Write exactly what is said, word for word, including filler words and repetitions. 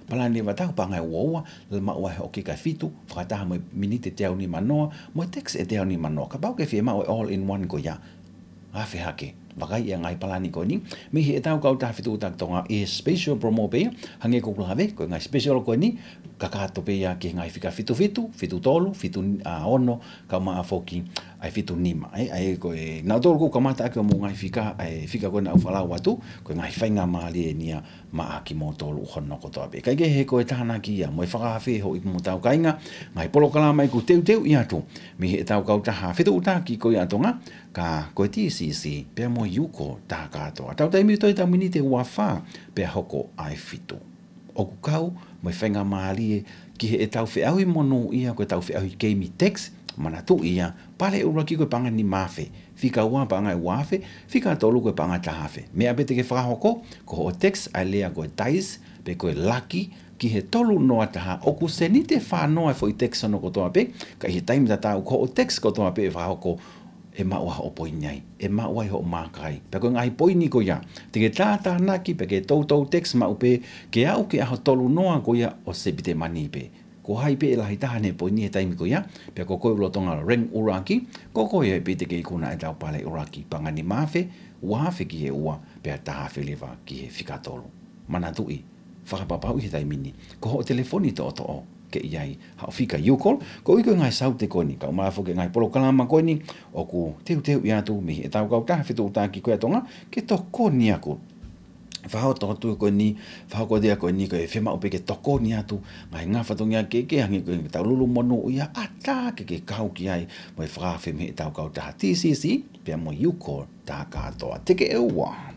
Palani leva ʻetau paʻanga ʻe ua ua, lele maʻu ai hoʻo kika ʻe fitu, fakataha mo e miniti ʻe teau nima noa, mo e text ʻe teau nima noa. Kapau ʻoku ke fiemaʻu e all in one ko ia, afe hake. Vakai e ngaahi palani ko eni mei heʻetau kautaha Fetuʻutaki Tonga, ʻi he special promo pē ia, hangē ko ʻeku lave, ko e ngaahi special ko eni, kakato pē ia ki he ngaahi fika fitu fitu, fitu tolu, fitu ono, kae ʻumaʻā foki ʻa e fitu nima. ʻE, ʻa ia ko e, naʻa tolu ʻoku kamata ʻaki hoʻomou ngaahi fika, ʻa e fika ko ena ʻoku ou faʻa lau atu, ko e ngaahi faingamālie eni ia maʻa kimoutolu hono kotoa pē. Kae kehe, ko e tānaki ia mo e fakaafe hoʻo ipu mo hotau kāinga, ngaahi polokalama ʻoku teuteuʻi atu mei heʻetau kautaha Fetuʻutaki ko ia ʻa Tonga, ka ko e T C C pea mo e UCOL taha kātoa. Tau taimi ʻo toe ʻetau miniti ʻe ua fā pea hoko ʻa e fitu. ʻOku kau mo e faingamālie ki heʻetau feʻauhi monūʻia, ko ʻetau feʻauhi keimi text, manatuʻi ia, pale ʻuluaki ko e paʻanga nima afe, fika ua paʻanga ʻe ua afe, fika tolu ko e paʻanga ʻe taha afe. Meʻa pē te ke fakahoko, ko hoʻo text ʻa e lea ko e dice, pe ko e laki, ki he tolu noa taha, ʻoku seniti ʻe fā noa e foʻi text hono kotoa pē, ka ʻi he taimi tatau ko hoʻo text kotoa pē ʻe fakahoko, ʻe maʻu ai hoʻo poini ai, ʻe maʻu ai hoʻo maaka ai. Pea ko e ngaahi poini ko ia, te ke tātānaki, pea ke toutou text maʻu pē, ke aʻu ki he ʻaho tolu noa ko ia ʻo Sepitema ni pē. Ko hai pē ʻe lahi taha ʻene poini he taimi ko ia, pea ko koe ʻoku lolotonga rank ʻuluaki, ko koe ia pē te ke ikuna ʻetau pale ʻuluaki, paʻanga nima afe, ua afe ki he ua, pea taha afe leva ki he fika tolu. Manatuʻi, fakapapauʻi he taimi ni, ko hoʻo telefoni toʻotoʻo ke ʻi ai haʻo fika UCOL, koeʻuhi ko e ngaahi saute ko eni, kae ʻumaʻā foki e ngaahi polokalama ko eni ʻoku teuteuʻi atu mei heʻetau kautaha Fetuʻutaki ko ia ʻa Tonga, ke tokoni atu. Fakahoko atu ko eni, fakahoko atu ko eni, ko e fiemaʻu pē ke tokoni atu, ngaahi ngaahi fatongia kehekehe, hangē ko ʻetau lulu monūʻia, ʻatā ke ke kau ki ai mo e fakaafe mei heʻetau kautaha T C C pea mo e UCOL taha kātoa. Teke ʻe ua.